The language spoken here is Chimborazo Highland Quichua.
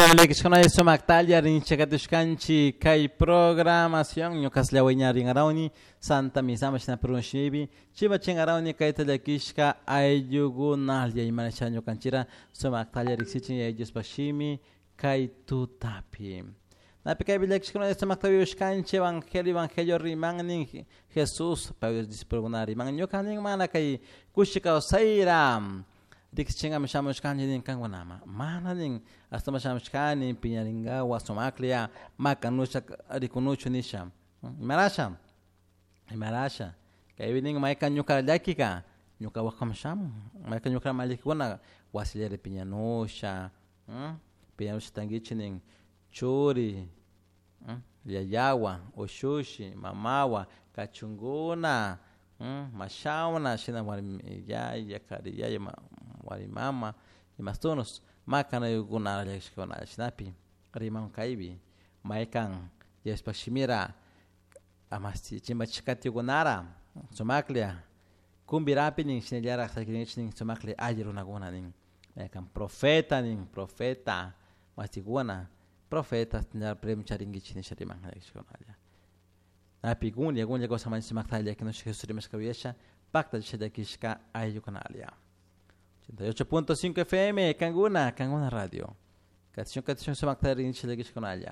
Shinami sumaktalla rinchakatushkanchik kay programación ñukas llawiñarinkarawni Santa Misama shina Peru shimipi chivachinkarawni kayta llakishka ayllukunalla imanasha ñukanchira sumaktalla riksichin Yaya Diospaj shimi kay tutapi. Napi kaypi llakishkuna sumakta uyashkanchik evangelio evangelio riman nin Jesús pay discipulokuna riman ñuka nin mana kay kushi kawsayra riksichinkami shamushkanchik nin kankunama mana nin ashtawan shamushkani piñarinkawa sumaklla makanusha rikunuchu nisha imarasha imarasha kaypi nin maykan ñuka llakika ñuka wakam shamun maykan ñuka mallikuna wasillari piñanusha piñanusha tankichik nin churi yayawan ushushi mamawan kachunkuna mashawna shina warmi yaya kari yaya warmi mama imastunus makanayukuna llakishkuna shinapi riman kaypi maykan Diospaj shimira amasti chimbachishkatikunara sumaklla kumbirapi nin shinallarak sakirinchik nin sumaklla alli runakuna nin maykan profeta nin profeta masikuna profeta premio charinkichik nisha riman llakishkunalla napi gunlla gunlla kawsamanchik sumakta llakinushka Jesús rimashka uyasha paktachisha llakishka ayllukunalla 88.5 FM Kanguna Kanguna Radio. Katishun katishun sumakta rinchik llakishkunalla.